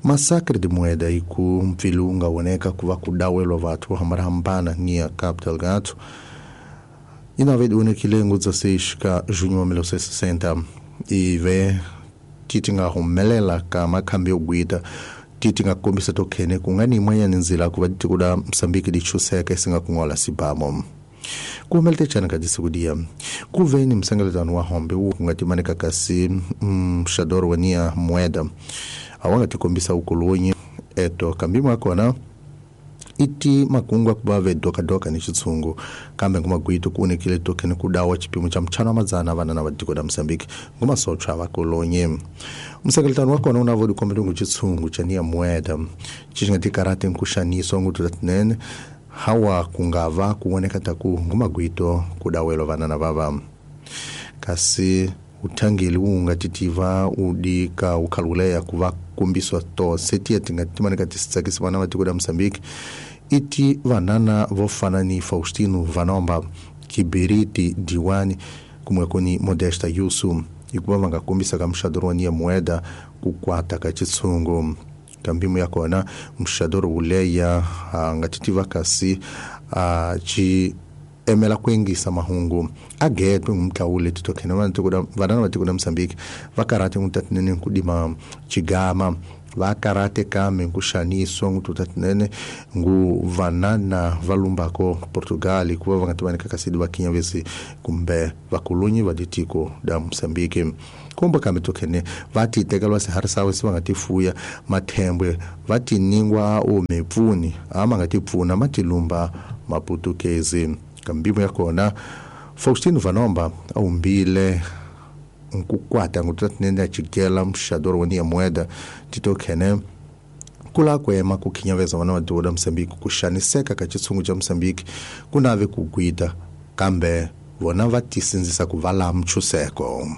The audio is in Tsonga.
Massacre de moeda e ku mpfilunga woneka ku va ku dawelwa vathu vo hambanahambana niya Cabo Delgado inave onekile ngu 16 ka junho wa 1960 ive ti nga humelela ka makhambi yo gwita ti nga kombisa to khene ku nga ni yin'wanyana ndzila ku va tiko la Mozambique li chuseka isinga kungola sibamo ku humelete chana ka disiku dia ku ve ni msengeletano wa hombe wu nga timanika kasi mxadoro wa nia moeda a wa nga tikombisa ukolonyi eto kambi mwa kona iti makungu akuva ve dokadoka ni xitshungu kambe ngumagwito ku onekile tokeni ku dawa xipimo xa mchano wa madzana vanana va tiko la Mozambique ngumasochwa va kolonyi msengeletano wa kona una vo dikombele ngu xitshungu xa nia moeda xi nga tikarhati nkuxaniso ngutu tinene hawa kungava kuoneka taku ngumagwito kudawelwa vanana vava kasi uthangeli wunga titiva udika ukhaluleya kuva kumbiswa tose tiya tinga timanika tisitsakisi vana va tiko la Mozambique iti vanana vo fana ni Faustino Vanomba Kibiriti Diwani kumwe kuni Modesta Yusu hikuva va nga kombisa ka muxadoro wa nia moeda ku kwata ka xitshungu kambimu ya kona muxadoro wuleya a nga titiva kasi a ci emela ku yingisa mahungu a getwe ngumtlawule titokhene vanana va tiko la Mozambique va karhate ngutatinene kudima chigama va karhate kambe nkuxaniso ngututatinene ngu vanana va lumbako Portugal hikuva va nga tivanika kasi va kinyavesi kumbe vakolonyi va ditiko da Mozambique kumbe kambe tokhene va ti tekelwa swiharhi sawe se va nga ti fuya mathembwe va ti ningwa o mipfuni a ma nga ti pfuna ma ti lumba maputukezi kambimu ya kona Faustino Vanomba a humbile nkukwata ngutatinene a chigela mxadoro wa nia moeda titokhene kula kwema ku khinyaveza vana va tiko la Mozambique ku xaniseka ka xitshungu xa Mozambique ku nave ku gwita kambe vona va tisindzisa ku va la mchuseko.